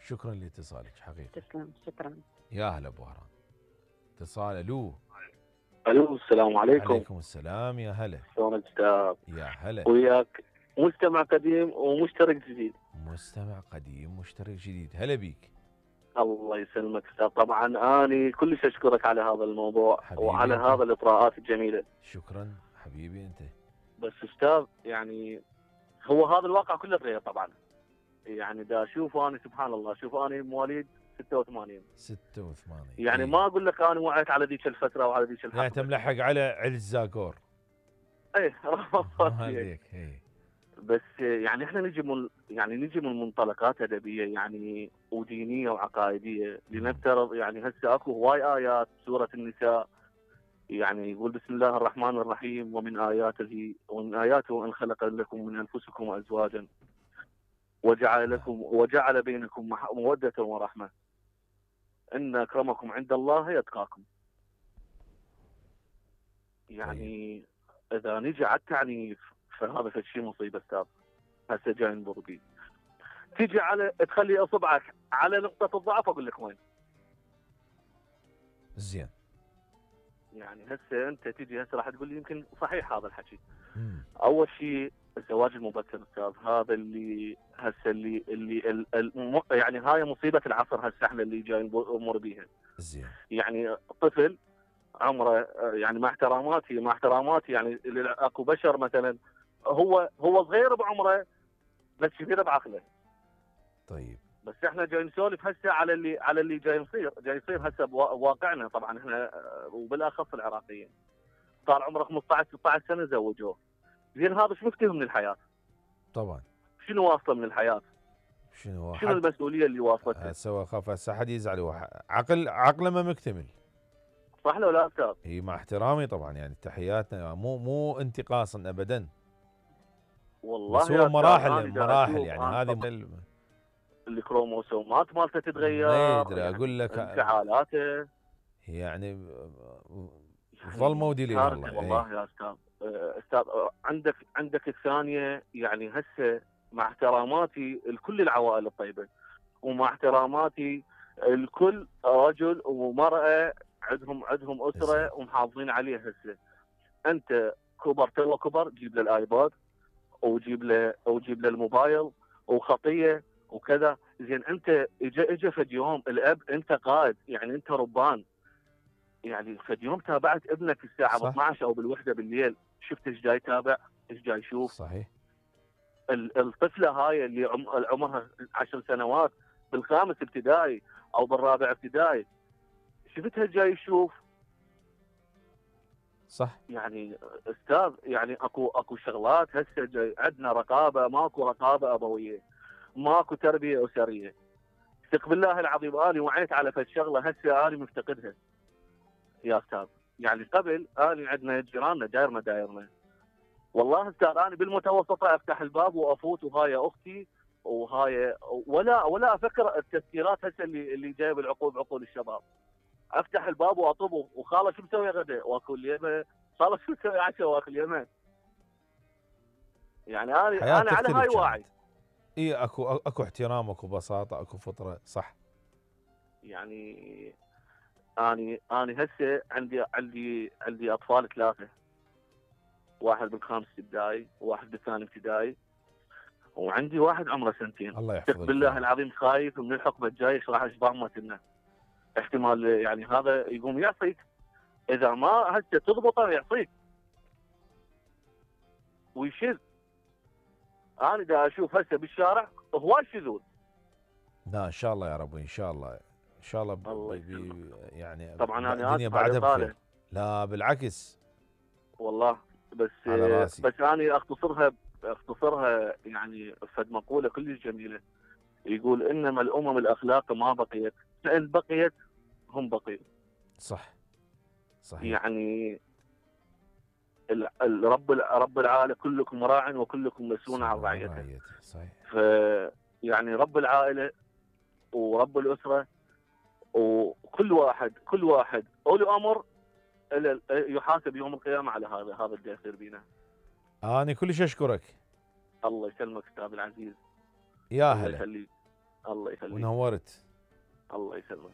شكرا لاتصالك حقيقي. تسلم، شكرا. يا هلا ابو وهران. اتصال. الو. الو، السلام عليكم. عليكم السلام، يا هلا. شلونك استاذ؟ يا هلا. وياك مستمع قديم ومشترك جديد. مستمع قديم مشترك جديد، هلا بيك. الله يسلمك استاذ. طبعا اني كلش اشكرك على هذا الموضوع وعلى انت. هذا الاطراءات الجميله. شكرا حبيبي انت. بس استاذ يعني هو هذا الواقع كله تغير طبعا. يعني دا اشوف انا سبحان الله، شوف انا مواليد 86 يعني ما اقول لك انا وعيت على ذيك الفتره وعلى ذيك الحقبه. يعني انت ملحق على علز زاكور. ايه عليك. بس يعني احنا نجي من منطلقات ادبيه يعني ودينيه وعقائديه. لنفترض يعني هسه اكو هواي ايات سوره النساء يعني يقول بسم الله الرحمن الرحيم ومن اياته ان خلق لكم من انفسكم ازواجا وجعل بينكم موده ورحمه ان اكرمكم عند الله يتقاكم. يعني اذا نجي على التعنيف فهذا شيء مصيبه استاذ. هسه جاي نمر بيه. تيجي على تخلي اصبعك على نقطه الضعف اقول لك وين. زين. يعني هسه انت تيجي هسه راح تقول لي يمكن صحيح هذا الحكي. اول شيء الزواج المبكر استاذ، هذا اللي هسه يعني هاي مصيبه العصر هسه احنا اللي جاي نمر بيها. زين. يعني طفل عمره يعني مع احتراماتي يعني اكو بشر مثلا هو صغير بعمره بس كبير بعقله. طيب. بس احنا جاي نسولف هسه على اللي جاي يصير هسه بواقعنا طبعا احنا وبالاخص العراقيين. صار عمره 15 16 سنه زوجوه. زين هذا شو مفتهم من الحياه؟ طبعا. شنو واصله من الحياه؟ شنو المسؤوليه اللي واصلته؟ هسه خاف هسه حد يزعل. عقله ما مكتمل. صح لو لا استاذ؟ هي مع احترامي طبعا يعني تحياتنا مو انتقاصا ابدا. والله بس هو مراحل يعني هذه الكروموسومات مالته تتغير. ما يدري يعني اقول لك انفعالاته يعني ظل مودي لي والله يا استاذ عندك الثانيه. يعني هسه مع احتراماتي لكل العوائل الطيبه ومع احتراماتي لكل رجل ومراه عندهم اسره ومحافظين عليها. هسه انت كبر جيب له الايباد وجيب له الموبايل وخطيه وكذا. زين انت اجى فد يوم الاب انت قائد يعني انت ربان. يعني فد يوم تابعت ابنك الساعه 12 او بالوحده بالليل، شفت ايش جاي يتابع ايش جاي يشوف. صحيح. الطفله هاي اللي عمرها 10 سنوات بالخامس ابتدائي او بالرابع ابتدائي شفتها جاي يشوف. صح. يعني استاذ يعني اكو شغلات هسه جاي عندنا رقابه، ماكو رقابه ابويه، ماكو تربيه اسريه. ثق بالله العظيم اني وعيت على فد شغله هسه اني مفتقدها يا استاذ. يعني قبل اني عندنا جيراننا دايرنا والله استاذ اني بالمتوسطه افتح الباب وافوت وهاي اختي وهاي ولا افكر التفكيرات هسه اللي جايه بعقول الشباب. افتح الباب واطب وخاله شو مسوي غدا واكل يمه، خاله شو مسوي عشاء واكل يمه. يعني انا على هاي واعي. اي اكو احترام، اكو بساطه، اكو فطره. صح. يعني اني هسه عندي اطفال 3، واحد بالخامس ابتدائي وواحد بالثاني ابتدائي وعندي واحد عمره 2 سنين. الله يحفظك. بالله العظيم خايف من الحقبه الجايه ايش راح اشبع لنا. احتمال يعني هذا يقوم يعصيك اذا ما هسه تضبطه يعصيك ويشذ. انا دا اشوف هسه بالشارع هواي شذوذ. لا ان شاء الله يا رب، ان شاء الله يعني طبعا انا الدنيا بعدها بخير. لا بالعكس والله. بس انا اختصرها يعني فد مقوله كلش جميله يقول انما الامم الاخلاق ما بقيت فان بقيت هم بقيوا. صح. صحيح. يعني رب العائله كلكم راع وكلكم مسؤول عن رعيته. صحيح. يعني رب العائله ورب الاسره وكل واحد اولي امر يحاسب يوم القيامه على هذا اللي يصير بينا. انا كلش اشكرك. الله يسلمك استاذ العزيز. يا هلا. الله يخليك. ونورت. الله يسلمك.